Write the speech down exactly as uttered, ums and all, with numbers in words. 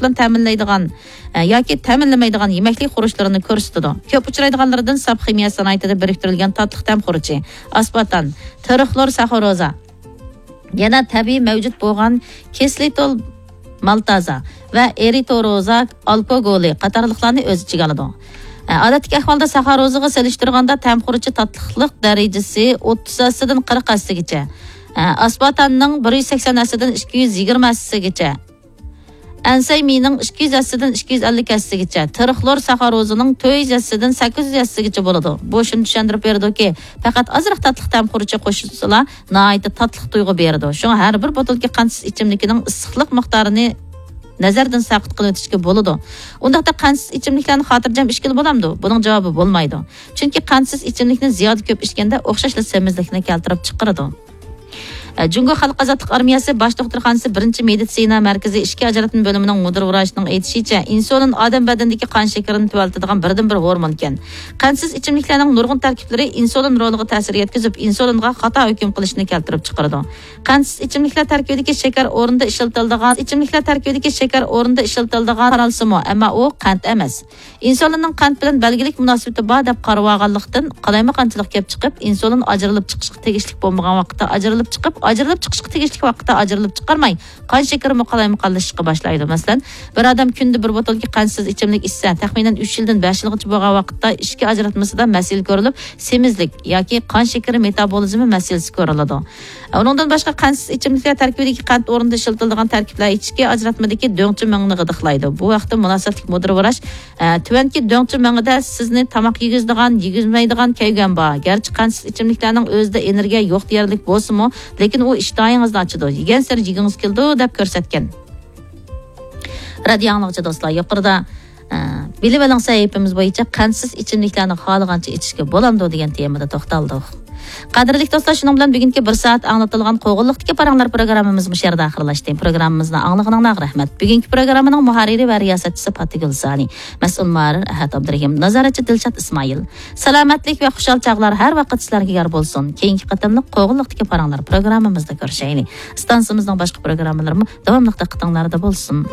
بىلەن تەمىنلەيدىغان، ئە، ياكى تەمىنلىمەيدىغان يېمەكلىك خۇرۇچلىرىنى كۆرسىتىدۇ. كۆپ ئۇچرايدىغانلىرىدىن ساپ خىمىيە سانائىتىدا بىرىكتۈرۈلگەن تاتلىق تەم خۇرۇچى، ئاسپارتان، ترىخلور ساخاروزا، يەنە تەبىئىي مەۋجۇت بولغان كىسلىتول مالتازا ۋە ئېرىتروزا ئالكوگولى قاتارلىقلارنى ئۆز ئىچىگە ئالىدۇ. ئە، ئادەتتىكى ئەھۋالدا ساخاروزىغا سېلىشتۇرغاندا تەم خۇرۇچى تاتلىقلىق دەرىجىسى ئوتتۇز ھەسسىدىن قىرىق ھەسسىگىچە، ئە، ئاسپارتاننىڭ بىر يۈز سەكسەن ھەسسىدىن ئىككى يۈز يىگىرمە ھەسسىگىچە، ئەنسەيمىنىڭ ئىككى يۈز ھەسسىدىن ئىككى يۈز ئەللىك ھەسسىگىچە، ترىخلور ساخاروزىنىڭ تۆت يۈز ھەسسىدىن سەككىز يۈز ھەسسىگىچە بولىدۇ. بۇ شۇنى چۈشەندۈرۈپ بېرىدۇكى، پەقەت ئازراق تاتلىق تەم خۇرۇچى قوشۇلسىلا، ناھايىتى تاتلىق تۇيغۇ بېرىدۇ. شۇڭا ھەر بىر بوتۇلكا قەنتسىز ئىچىملىكىنىڭ ئىسسىقلىق مىقدارىنى نەزەردىن ساقىت قىلىۋېتىشكە بولىدۇ. ئۇنداقتا قەنتسىز ئىچىملىكلەرنى خاتىرجەم ئىچكىلى بولامدۇ؟ بۇنىڭ جاۋابى بولمايدۇ. چۈنكى قەنتسىز ئىچىملىكنى زىيادە كۆپ ئىچكەندە ئوخشاشلا سېمىزلىكنى كەلتۈرۈپ چىقىرىدۇ. ئە، جۇڭگو خەلق ئازادلىق ئارمىيەسى باش دوختۇرخانىسى بىرىنچى مېدىتسىنا مەركىزى ئىچكى ئاجراتما بۆلۈمىنىڭ مۇدىر ۋراچىنىڭ ئېيتىشىچە، ئىنسۇلىن ئادەم بەدىنىدىكى قان شېكىرىنى تۆۋەنلىتىدىغان بىردىنبىر ھورمونكەن. قەنتسىز ئىچىملىكلەرنىڭ نۇرغۇن تەركىبلىرى ئىنسۇلىن رولىغا تەسىر يەتكۈزۈپ، ئىنسۇلىنغا خاتا ھۆكۈم قىلىشنى كەلتۈرۈپ چىقىرىدۇ. قەنتسىز ئىچىملىكلەر تەركىبىدىكى شېكەر ئورنىدا ئىشلىتىلىدىغان، ئىچىملىكلەر تەركىبىدىكى شېكەر ئورنىدا ئىشلىتىلىدىغان قارالسىمۇ، ئەمما ئۇ قەنت ئەمەس. ئىنسۇلىننىڭ قەنت بىلەن بەلگىلىك مۇناسىۋىتى بار دەپ قارىۋالغانلىقتىن، قالايمىقانچىلىق كېلىپ چىقىپ، ئىنسۇلىن ئاجرىلىپ چىقىشقا تېگىشلىك بولمىغان ۋاقىتتا ئاجرىلىپ چىقىپ، ئاجرىلىپ چىقىشقا تېگىشلىك ۋاقىتتا ئاجرىلىپ چىقارماي، قان شېكىرىمۇ قالايمىقانلىشىشقا باشلايدۇ. مەسىلەن، بىر ئادەم كۈندە بىر بوتۇلكا قەنتسىز ئىچىملىك ئىچسە، تەخمىنەن ئۈچ يىلدىن بەش يىلغىچە بولغان ۋاقىتتا ئىچكى ئاجراتمىسىدا مەسىلە كۆرۈلۈپ، سېمىزلىك ياكى قان شېكىرى مېتابولىزمى مەسىلىسى كۆرۈلىدۇ. ئۇنىڭدىن باشقا، قەنتسىز ئىچىملىكلەر تەركىبىدىكى قەنت ئورنىدا ئىشلىتىلىدىغان تەركىبلەر ئىچكى ئاجراتمىدىكى دۆڭچە مېڭىنى غىدىقلايدۇ. بۇ ھەقتە مۇناسىۋەتلىك مۇدىر ۋراچ، ئە، تۆۋەنكى دۆڭچە مېڭىدە سىزنى تاماق يېگۈزىدىغان، يېگۈزمەيدىغان كەيگەن بار. گەرچە قەنتسىز ئىچىملىكلەرنىڭ ئۆزىدە ئېنېرگىيە يوق دېيەرلىك بولسىمۇ، لېكىن ئۇ ئىشتىھايىڭىزنى ئاچىدۇ. يېگەنسېرى يېگۈڭىز كېلىدۇ، دەپ كۆرسەتكەن. رادىيو ئاڭلىغۇچى دوستلار، يۇقىرىدا، ئە، بىلىۋېلىڭ سەھىپىمىز بويىچە قەنتسىز ئىچىملىكلەرنى خالىغانچە ئىچىشكە بولامدۇ دېگەن تېمىدا توختالدۇق. قەدىرلىك دوستلار، شۇنىڭ بىلەن بۈگۈنكى بىر سائەت ئاڭلىتىلغان قوغۇنلۇقتىكى پاراڭلار پروگراممىمىز مۇشۇ يەردە ئاخىرلاشتى. پروگراممىمىزنى ئاڭلىغىنىڭلارغا رەھمەت. بۈگۈنكى پروگراممىنىڭ مۇھەررىرى ۋە رىياسەتچىسى پاتىگۈل سانى، مەسئۇل مۇھەررىر ئەھەت ئابدۇرېھىم، نازارەتچى دىلشات ئىسمائىل. سالامەتلىك ۋە خۇشال چاغلار ھەر ۋاقىت سىلەرگە يار بولسۇن. كېيىنكى قېتىملىق قوغۇنلۇقتىكى پاراڭلار پروگراممىمىزدا كۆرۈشەيلى. ئىستانسىمىزنىڭ باشقا پروگراممىلىرىمۇ داۋاملىق دىققىتىڭلاردا بولسۇن.